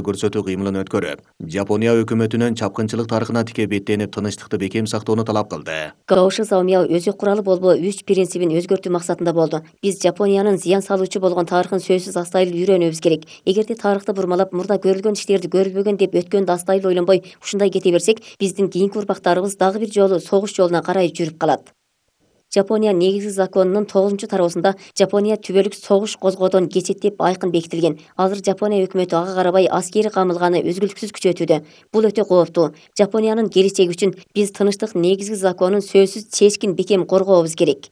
көрсөтүү кыймылын өткөрүп, Жапония өкмөтүнүн чапкынчылык тарыхына тике беттенип тынычтыкты бекем сактоону талап кылды. Каоши Заумяо өзү куралы болбоо 3 принцибин өзгөртүү максатында болду. Биз Жапониянын зыян салуучу болгон тарыхын сөзсүз астайлуу үйрөнүүбүз керек. Эгерде тарыхты бурмалап, мурда көрүлгөн иштерди көрүлбөгөн деп өткөндү астайлуу ойлонбой ушундай кете берсек, биздин кийинки урмактарыбыз дагы бир жолу согуш жолуна карай жүрүп калат. Жапония негизги законунун 9-тарабысында Жапония түбөлүк согуш козгоодон кечет деп айкын бекитилген. Азыр Жапония өкмөтү ага карабай аскерий камылганы үзгүлтүксүз күчөтүүдө. Бул өтө кооптуу. Жапониянын келечеги үчүн биз тынычтык негизги законун сөзсүз чечкин бекем коргообуз керек.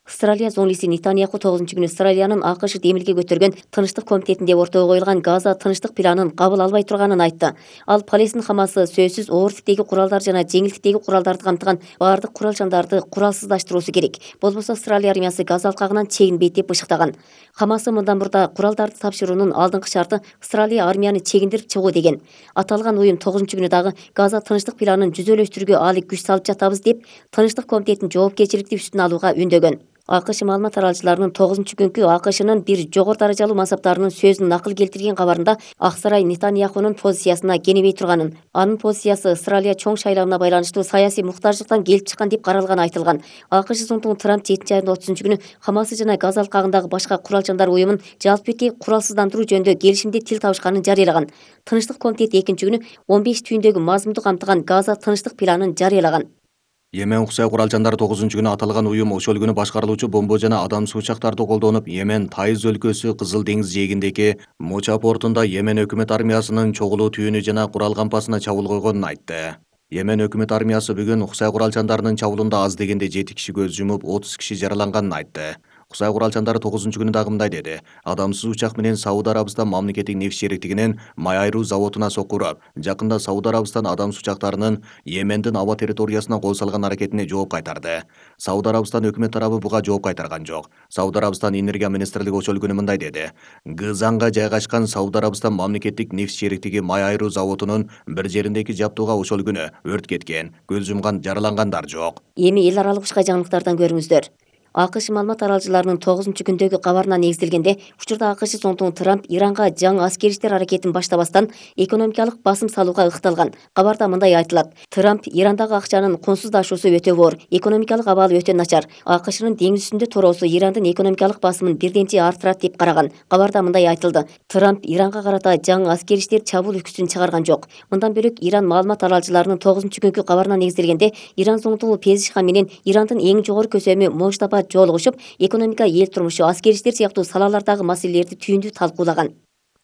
Австралия зоңлиси Нетаньяху 9-күнү Австралиянын АКШ демилге көтөргөн тынычтык комитетинде ортого коюлган Газа тынычтык планын кабыл албай турганын айтты. Ал Палестин Хамасы сөзсүз оор типтеги куралдар жана жеңилтиктеги куралдарды камтыган баардык курал-жандарды куралсыздаштыруусу керек. Болбосо Австралия армиясы Газа алкагынан чегинбейт деп бышыктаган. Хамасы мындан мурда куралдарды тапшыруунун алдыңкы шарты Австралия армияны чегиндирип чыгуу деген. Аталган уюм 9-күнү дагы Газа тынычтык планын жүзөлөштүрүүгө алек күч салып жатабыз деп тынычтык комитетин жоопкерчиликти үстүнө алууга үндөгөн. АКШ маалымат таралчыларынын 9-күнкү АКШнын бир жогору даражалуу мансаптарынын сөзүн накыл келтирген кабарында Ак сарай Нетаньяхунун позициясына кенебей турганын, анын позициясы Австралия чоң шайлауына байланыштуу саясий муктаждыктан келип чыккан деп каралганы айтылган. АКШ зонтугу Трамп 7 айдын 30-күнү Хамасы жана Газа алкагындагы башка курал-жандар уюмун жалпы куралсыздандыруу жөнүндө келишимде тил табышканын жарыялаган. Тынычтык комитети 2-күнү 15 түйүндөгү мазмунду камтыган Газа тынычтык планын жарыялаган. Йемен Уксай курал-жандар 9-күнү аталган уюм ошол күнү башкарылуучу бомба жана адамсыз учактарды колдонуп, Йемен Тайыз өлкөсү Кызыл деңиз жээгиндеги Моча портунда Йемен өкмөт армиясынын чогулуу түйүнү жана курал кампасына чабуул койгонун айтты. Йемен өкмөт армиясы бүгүн Уксай курал-жандарынын чабуулунда аз дегенде 7 киши көз жумуп, 30 киши жараланганын айтты. Уксай курал-жандары 9-күнү дагы мындай деди: Адамсыз учак менен Сауд Арабистан мамлекеттик нефть шериктигинин май айыруу заводуна сокуруп, жакында Сауд Арабистан адамсыз учактарынын Йемендин аба территориясына кол салган аракетине жооп кайтарды. Сауд Арабистан өкмөт тарабы буга жооп кайтарган жок. Сауд Арабистан энергия министрлиги ошол күнү мындай деди: Гызанга жайгашкан Сауд Арабистан мамлекеттик нефть шериктиги май айыруу заводунун бир жериндеги жабдууга ошол күнү өрт кеткен, көз жумган, жаралангандар жок. Эми эл аралык ушка жаңылыктардан көрүңүздөр. АКШ маалымат таралчыларынын 9-күндөгү кабарына негизделгенде, учурда АКШ зонтугу Трамп Иранга жаңы аскерий иштер аракетин баштабастан экономикалык басым салууга ыкталган. Кабарда мындай айтылат: Трамп Ирандагы акчанын кунсуздашуусу өтө оор, экономикалык абалы өтө начар. АКШнын деңиз үстүндө туроосу Ирандын экономикалык басымын бирдемчи арттырат деп караган. Кабарда мындай айтылды: Трамп Иранга карата жаңы аскерий иштер чабуул үкүсүн чыгарган жок. Мындан бөлөк Иран маалымат таралчыларынын 9-күнкү кабарына негизделгенде, Иран зонтугу Пезишхан менен Ирандын эң жогору көсөмү Можтаба жолугушуп, экономика, эл турмушу, аскерий иштер сыяктуу салалардагы маселелерди түйүндүү талкуулаган.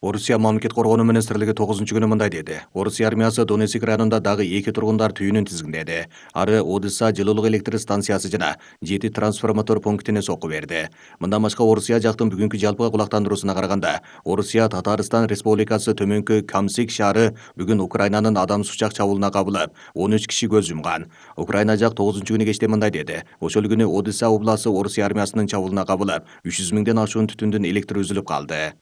Орусия мамлекет коргонуу министрлиги 9-күнү мындай деди: Орусия армиясы Донецк районунда дагы 2 тургундар түйүнүн тизгиндеди. Ары Одесса жылуулук электр станциясы жана 7 трансформатор пунктине сокку берди. Мындан башка Орусия жактын бүгүнкү жалпы кулактандыруусуна караганда, Орусия Татарстан Республикасы төмөнкү Камсик шаары бүгүн Украинанын адамсыз учак чабуулуна кабылып, 13 киши көз жумган. Украина жак 9-күнү кечте мындай деди: Ошол күнү Одесса областы Орусия армиясынын чабуулуна кабылып, 300 миңден ашуун түтүндүн электри үзүлүп калды.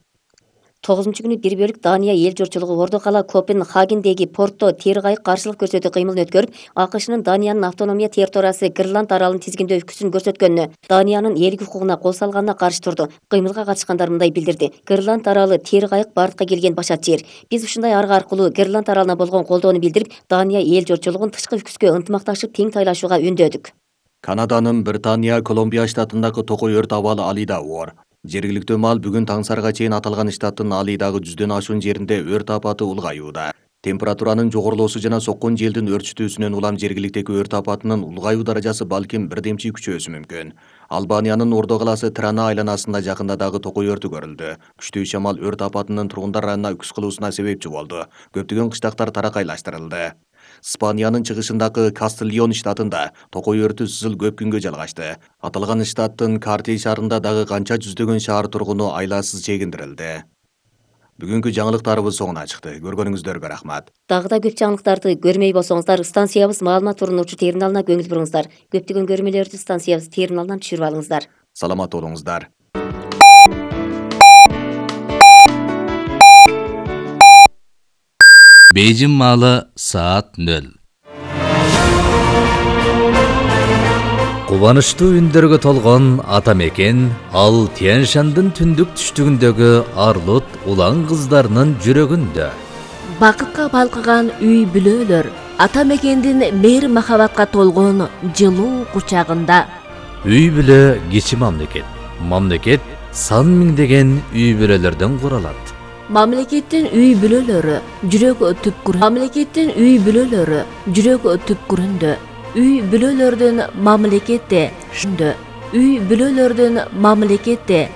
9-күнү бир бөлүк Дания эл журтчулугу Ордо кала Копенгагендеги портто тери кайык каршылык көрсөтүү кыймылын өткөрүп, АКШнын Даниянын автономия территориясы Гренланд аралын тизгиндөө үкүсүн көрсөткөнүнө, Даниянын элдик укугуна кол салганына каршы турду. Кыймылга катышкандар мындай билдирди: Гренланд аралы тери кайык бардыкка келген башат жер. Биз ушундай арга аркылуу Гренланд аралына болгон колдоону билдирип, Дания эл журтчулугун тышкы үкүскө ынтымакташып тең тайлашууга үндөдүк. Канаданын Британия Колумбия штатындагы токой өрт абалы Алида оор. Жергиликтүү маал бүгүн таңсарга чейин аталган штаттын Алидагы 100дөн ашуун жеринде өрт апаты улгаюуда. Температуранын жогорулоосу жана соккон желдин өрчүтүүсүнөн улам жергиликтеги өрт апатынын улгаюу даражасы балким бирдемчи күчөөсү мүмкүн. Албаниянын Ордо каласы Трана айланасында жакында дагы токой өртү көрүлдү. Күчтүү шамал өрт апатынын тургундар аранына үкүс кылуусуна себепчи болду. Көптөгөн кыштактар таракайлаштырылды. Испаниянын чыгышындагы Кастильон штатында токой өртү сызыл көп күнгө жалгашты. Аталган штаттын Карти шаарында дагы канча жүздөгөн шаар тургуну айласыз чегиндирилди. Бүгүнкү жаңылыктарыбыз соңуна чыкты. Көргөнүңүздөргө рахмат. Дагы да көп жаңылыктарды көрмөй болсоңуздар, станциябыз маалымат урунуучу терминалына көңүл буруңуздар. Көптөгөн көрмөлөрдү станциябыз терминалынан түшүрүп алыңыздар. Саламат болуңуздар. Бейжин маалы саат 0. Кубанычтуу үндөргө толгон ата мекен ал Тянь-Шандын түндүк түштүгүндөгү Арлут улан кыздарынын жүрөгүндө. Бакытка балкыган үй бүлөлөр ата мекендин мейир махабатка толгон жылуу кучагында. Үй бүлө кичи мамлекет. Мамлекет сан миңдеген үй бүлөлөрдөн куралат. Мамлекеттин үй бүлөлөрү жүрөк түпкүрүндө. Мамлекеттин үй бүлөлөрү жүрөк түпкүрүндө. Үй бүлөлөрдүн мамлекетте. Үй бүлөлөрдүн мамлекетте